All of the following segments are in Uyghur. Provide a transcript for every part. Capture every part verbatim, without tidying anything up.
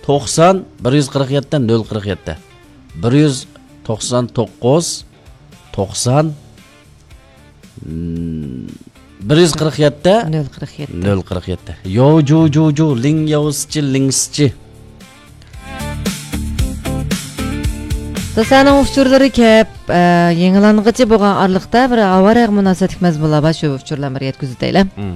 توقسان، بىر يۈز قىرىق يەتتە، نۆل قىرىق يەتتە. بىر يۈز توقسان توققۇز، توقسان، بىر يۈز قىرىق يەتتە، نۆل قىرىق يەتتە. نۆل قىرىق يەتتە. ياۋ جۇ جۇ جۇ، لىڭ ياۋ سىچى، لىڭ سىچى. دوستلارنىڭ ئۇچۇرلىرى كەپ، ئە، يېڭىلانغىچە بولغان ئارىلىقتا بىر ئاۋارەگە مۇناسىۋەتلىك مەزمۇنلار بار، شۇ ئۇچۇرلارنى بىر يەتكۈزۈۋېتەيلى. مم.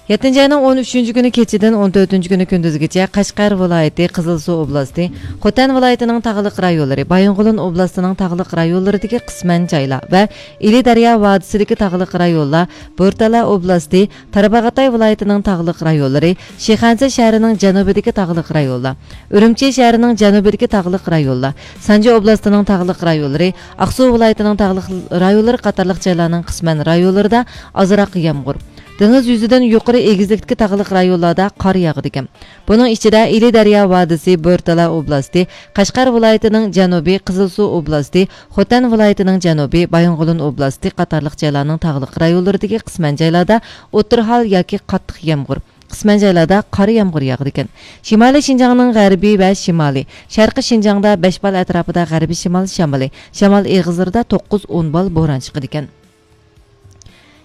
يەتتىنچى ئاينىڭ ئون ئۈچىنچى كۈنى كېچىدىن ئون تۆتىنچى كۈنى كۈندۈزگىچە قەشقەر ۋىلايىتى، قىزىلسۇ ئوبلاستى، خوتەن ۋىلايىتىنىڭ تاغلىق رايونلىرى، بايىنغولىن ئوبلاستىنىڭ تاغلىق رايونلىرىدىكى قىسمەن جايلار ۋە ئىلى دەريا ۋادىسىدىكى تاغلىق رايونلار، بورتالا ئوبلاستى، تارباغاتاي ۋىلايىتىنىڭ تاغلىق رايونلىرى، شىخەنزە شەھىرىنىڭ جەنۇبىدىكى تاغلىق رايونلار، ئۈرۈمچى شەھىرىنىڭ جەنۇبىدىكى تاغلىق رايونلار، سانجى ئوبلاستىنىڭ تاغلىق رايونلىرى، ئاقسۇ ۋىلايىتىنىڭ تاغلىق رايونلىرى قاتارلىق جايلارنىڭ قىسمەن رايونلىرىدا ئازراق يامغۇر، دېڭىز يۈزىدىن يۇقىرى ئېگىزلىكتىكى تاغلىق رايونلاردا قار ياغىدىكەن. بۇنىڭ ئىچىدە ئىلى دەريا ۋادىسى، بورتالا ئوبلاستى، قەشقەر ۋىلايىتىنىڭ جەنۇبى، قىزىلسۇ ئوبلاستى، خوتەن ۋىلايىتىنىڭ جەنۇبى، بايىنغولىن ئوبلاستى قاتارلىق جايلارنىڭ تاغلىق رايونلىرىدىكى قىسمەن جايلاردا ئوتتۇرا ھال ياكى قاتتىق يامغۇر، قىسمەن جايلاردا قارا يامغۇر ياغىدىكەن. شىمالىي شىنجاڭنىڭ غەربىي ۋە شىمالى، شەرقىي شىنجاڭدا بەش بال ئەتراپىدا غەربىي شىمال شامىلى، شامال ئېغىزلىرىدا توققۇز ئون بال بوران چىقىدىكەن.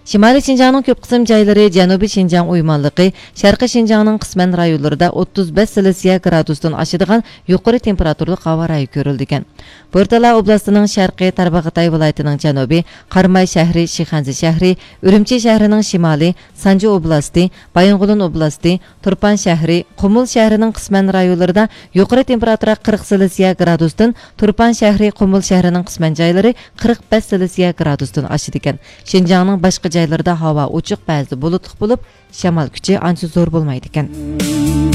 شىمالىي شىنجاڭنىڭ كۆپ قىسىم جايلىرى، جەنۇبىي شىنجاڭ ئويمانلىقى، شەرقىي شىنجاڭنىڭ قىسمەن رايونلىرىدا ئوتتۇز بەش سېلسىيە گرادۇستىن ئاشىدىغان يۇقىرى تېمپېراتۇرىلىق ھاۋا رايى كۆرۈلىدىكەن. بورتالا ئوبلاستىنىڭ شەرقى، تارباغاتاي ۋىلايىتىنىڭ جەنۇبى، قاراماي شەھىرى، شىخەنزە شەھىرى، ئۈرۈمچى شەھىرىنىڭ شىمالى، سانجى ئوبلاستى، بايىنغولىن ئوبلاستى، تۇرپان شەھىرى، قۇمۇل شەھىرىنىڭ قىسمەن رايونلىرىدا يۇقىرى تېمپېراتۇرا قىرىق سېلسىيە گرادۇستىن، تۇرپان شەھىرى، قۇمۇل شەھىرىنىڭ قىسمەن جايلىرى قىرىق بەش سېلسىيە گرادۇستىن ئاشىدىكەن. شىنجاڭنىڭ باشقا جايلىرىدا ھاۋا ئوچۇق، بەزىدە بۇلۇتلۇق بولۇپ، شامال كۈچى ئانچە زور بولمايدىكەن.